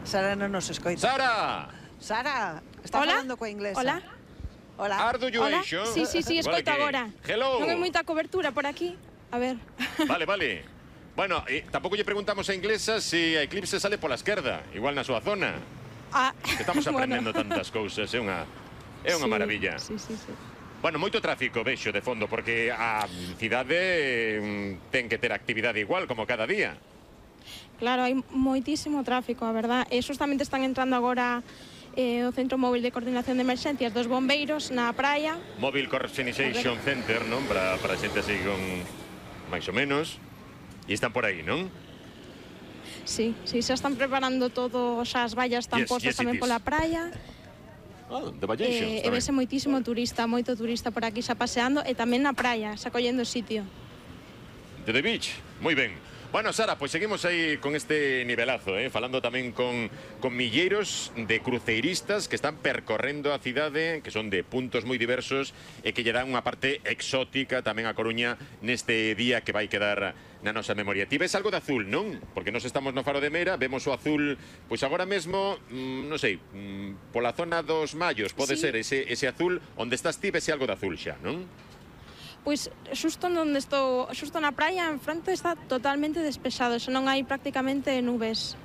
Sara non nos escoita. Sara! Sara, está Hola? falando coa inglesa. Hola? Hola. Ardu you Hola? Asian? Sí, escoito agora. Hello! Non hai moita cobertura por aquí. A ver. Vale. Bueno, tampouco lle preguntamos a inglesa se a Eclipse sale pola esquerda, igual na súa zona. Estamos aprendendo tantas cousas, é unha maravilla. Sí. Bueno, moito tráfico vexo de fondo, porque a cidade ten que ter actividade igual como cada día. Claro, hai moitísimo tráfico, a verdad. E justamente están entrando agora o Centro Móvil de Coordinación de Emerxencias dos Bombeiros na praia. Mobile Coordination Center, non? Para a xente así con máis ou menos. E están por aí, non? Sí, xa están preparando todo, xa as vallas están postas tamén pola praia. De Vallations E vese moitísimo turista, moito turista por aquí xa paseando e tamén na praia, xa collendo sitio. De The Beach, moi ben. Bueno, Sara, pois seguimos aí con este nivelazo, falando tamén con milleiros de cruceiristas que están percorrendo a cidade, que son de puntos moi diversos e que lle dan unha parte exótica tamén a Coruña neste día que vai quedar na nosa memoria. Ti ves algo de azul, non? Porque nos estamos no Faro de Meira, vemos o azul, pois agora mesmo, non sei, pola zona dos Mallos, pode ser ese azul, onde estás ti, vese algo de azul xa, non? Pois xusto onde estou, xusto na praia, en fronte está totalmente despexado, xa non hai prácticamente nubes.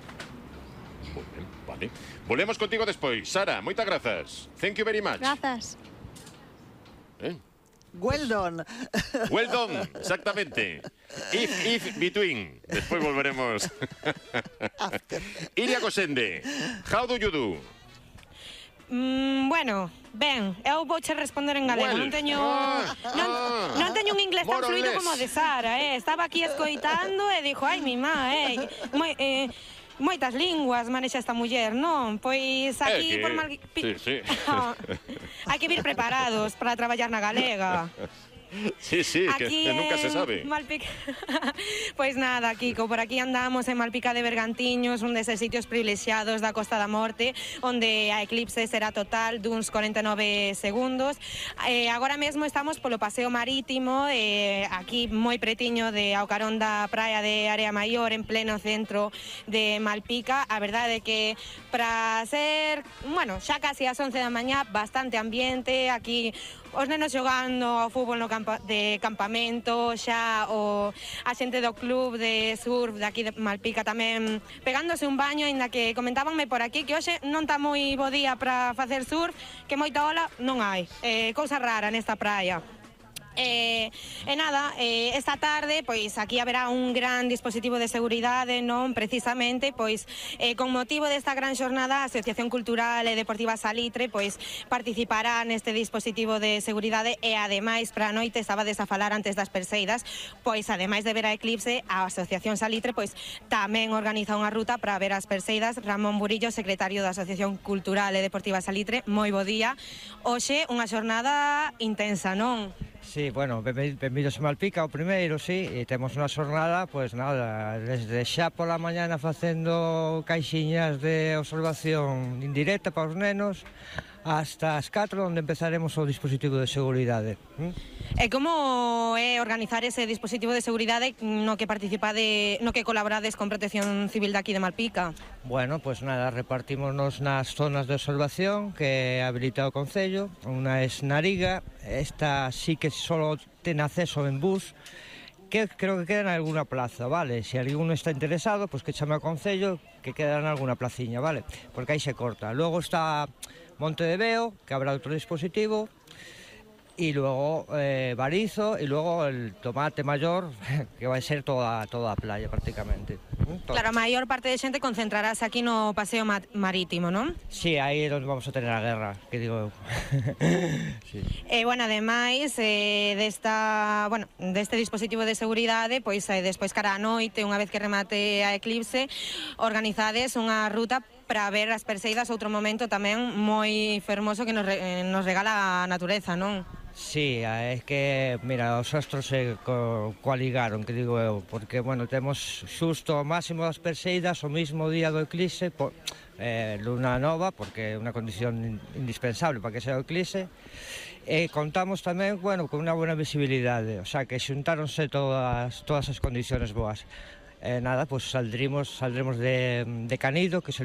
Moi ben, vale. Volvemos contigo despois. Sara, moitas grazas. Thank you very much. Grazas. Well done. Well done, exactamente. If, between. Despois volveremos. Iria Gosende, how do you do? Bueno, ben, eu vouche responder en galego. Non teño un inglés tan fluido como o de Sara, Estaba aquí escoitando e dixo, ai, mi má, moitas linguas manexa esta muller, non? Pois aquí por mal... Sí. Hai que vir preparados para traballar na galega. Sí, que nunca se sabe. Pois nada, Kiko, por aquí andamos en Malpica de Bergantiños, un deses sitios privilexiados da Costa da Morte, onde a eclipse será total duns 49 segundos. Agora mesmo estamos polo paseo marítimo, aquí moi pretiño de ao carón da praia de Area Maior, en pleno centro de Malpica. A verdade é que para ser, bueno, xa casi as 11 da mañá, bastante ambiente, aquí os nenos xogando ao fútbol no de campamento, xa a xente do club de surf de aquí de Malpica tamén pegándose un baño, aínda que comentábanme por aquí que hoxe non está moi bo día para facer surf, que moita ola non hai, cousa rara nesta praia. Nada, esta tarde pois aquí haberá un gran dispositivo de seguridade, non? Precisamente, pois con motivo desta gran xornada, a Asociación Cultural e Deportiva Salitre pois participará neste dispositivo de seguridade e ademais para a noite, estabades a falar antes das perseidas, pois ademais de ver a eclipse, a Asociación Salitre pois tamén organiza unha ruta para ver as perseidas. Ramón Burillo, secretario da Asociación Cultural e Deportiva Salitre, moi bo día. Hoxe unha xornada intensa, non? Sí, bueno, benvidos a Malpica, o primeiro, sí, e temos unha xornada, pois nada, desde xa pola mañana facendo caixiñas de observación indirecta para os nenos, hasta as 4, onde empezaremos o dispositivo de seguridade. E como é organizar ese dispositivo de seguridade no que participade, no que colaborades con Protección Civil de aquí de Malpica? Bueno, pois nada, repartímonos nas zonas de observación que habilita o Concello. Unha é Nariga, esta sí que só ten acceso en bus, que creo que queda en alguna plaza, vale? Se alguén está interesado, pois que chame ao Concello, que queda en alguna placiña, vale? Porque aí se corta. Logo está Monte de Veo, que habrá outro dispositivo, y luego Barizo, y luego el Tomate Mayor, que vai ser toda a playa prácticamente. Claro, a maior parte de xente concentrarás aquí no paseo marítimo, non? Sí, aí é onde vamos a tener a guerra, que digo eu. Sí. Bueno, ademais deste dispositivo de seguridade, pois despois cara a noite, unha vez que remate a eclipse, organizades unha ruta para ver as perseidas, outro momento tamén moi fermoso que nos regala a natureza, non? Sí, é que, mira, os astros se coaligaron, que digo eu, porque, bueno, temos xusto o máximo das perseidas o mismo día do eclipse, luna nova, porque é unha condición indispensable para que sea o eclipse, e contamos tamén, bueno, con unha buena visibilidade, o sea, que xuntáronse todas as condiciones boas. Nada, pues saldremos de Canido, que es el